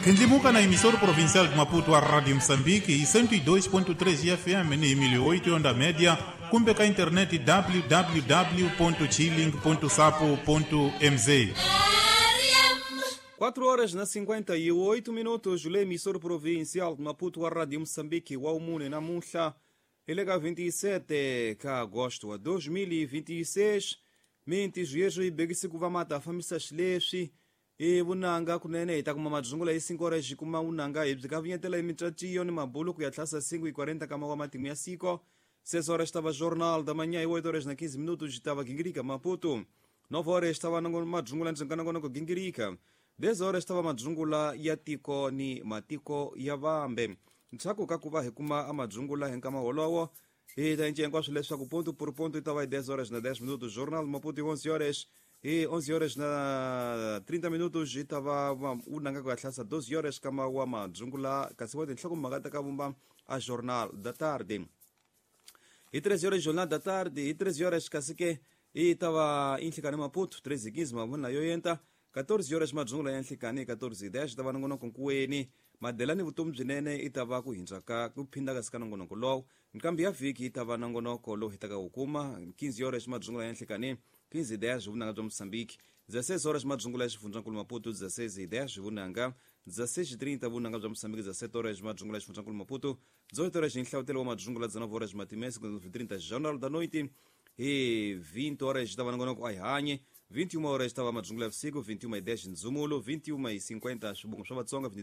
Kendlimuka na emissora provincial de Maputo, a Rádio Moçambique, e 102.3 FM ni 1008 onda média, kumbe ka internet www.chilling.sapo.mz. 4 horas na 58 minutos, le emissora provincial de Maputo, a Rádio Moçambique, wa umune namuhla, eleka 27 ka agosto wa 2026, minti yeswo yi bekise ku va mata fambisa xileswi i vunanga kunene hi ta kuma madzungula hi 5 horas hi kuma vunanga hi byi kavinyetela hi micaciyo ni mabulu ku ya tlhasa 5 hi 40 kama wa matimu ya siko 6 horas tava jornal da manhã e 8 horas na 15 minutos tava gingirika Maputo 9 horas tava madzungula ndzonganongonoko gingirika 10 horas tava madzungula ya tiko ni matiko ya vambe ntshaku ka ku va hi kuma amadzungula hi nkama wolowo hi ta cinca hinkwaswo leswaku ponto por ponto yi ta va hi 10 horas na 10 minutos jornal Maputo hi 11 horas hi 11 horas na 30 minutos yi ta va unanga ku ya hlasa 12 horas kama wa madzungula kasi wa tinhlokomhaka ta ka vumba a jornal da tarde hi 13 horas jornal da tarde hi 13 horas kasi ke yi ta va inhlikani Maputo 13:15 mavona yo yenta 14 horas madzungula ya nhlikani 14:10 ta va nongonoko nkuweni madelani vutomi byinene i ta va ku hindza ka ku phinda kasi ka nongonoko lowu nkambi ya vhiki yi ta va nongonoko lowu hitaka wu kuma 15 horas madzungula ya nhlikani 15:10 vunanga bya Moçambique 16 horas madzungula ya xifundzankulu Maputo 16:10 vunanga 16:30 vunanga bya Moçambique 17 horas madzungula ya xifundzankulu Maputo 18 horas nhlavutelo wa madzungula 19 horas matimese 30 jornal da noite hi 20 horas ta va nongonoko a hi hanye 21 horas ta va madzungula ya vusiku 21:10 ndzumulo 21:50 swibongo swa Vatsonga.